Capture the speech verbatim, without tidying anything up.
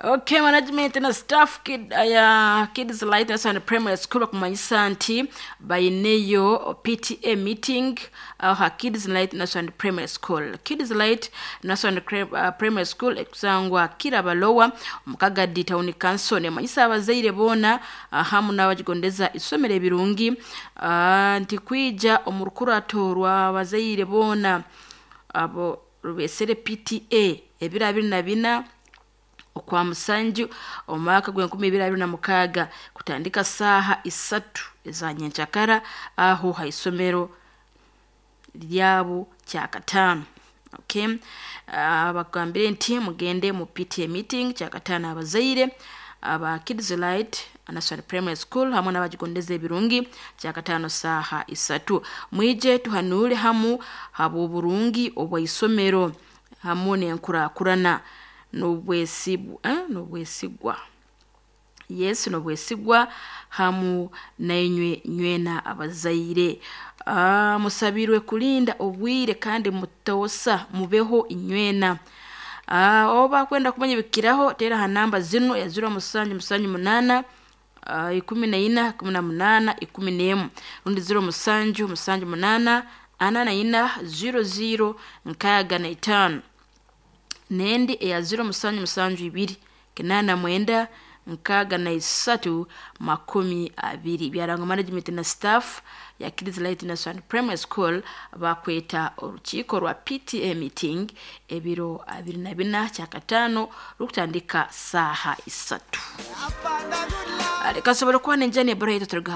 Okay, management na staff kid, ya Kids Light National Primary School bakumanyisa nti bayineyo P T A meeting aha Kids Light National Primary School. Kids Light National uh, Primary School ekusangwa Kirabalowa omu Kagadi Town Council, nemanyisa abazaire boona hamu n'abagigondeza isomero ebirungi uh, nti kwija omu rukurato rw'abazaire boona abo rubesere P T A ebiro abiri na bina okwa musanju omwaka gw'enkumi ibiri abiri na mukaaga, kutandika saaha isatu eza nyenkyakara aho ha isomero lyabo Kyakataano. Okay, uh, bakugambire nti mugende mu P T A meeting Kyakataano, abazaire aba Kids Light National Primary School hamwe n'abagigondeza ebirungi, Kyakataano saaha isatu, mwije tuhanuure hamu habw'oburungi obw'isomero hamu n'enkurakurana n'obwesigwa, eh, n'obwesigwa, yes, n'obwesigwa hamu nainywe nywena abazaire. uh, musabirwe kulinda obwire kandi mutoosa mubeho inywena. uh, oba kwenda kumanya ebikiraho, teera ha namba zinu ya ziro musanju musanju munaana uh, ikumi na ina kumi na munaana ikumi n'emu, rundi ziro musanju musanju munaana ana na ina ziro ziro nkaaga na itaano, n'endi eya ziro musanju musanju ibiri kinaana mwenda nkaaga na isatu makumi abiri. Byarangwa management na staff ya Kids Light National Primary School, bakweta orukiiko rwa P T A meeting ebiro abiri na bina Kyakataano, rukutandika saaha isatu. Reka nsobole kuba nenjani ebura yaitu turuga.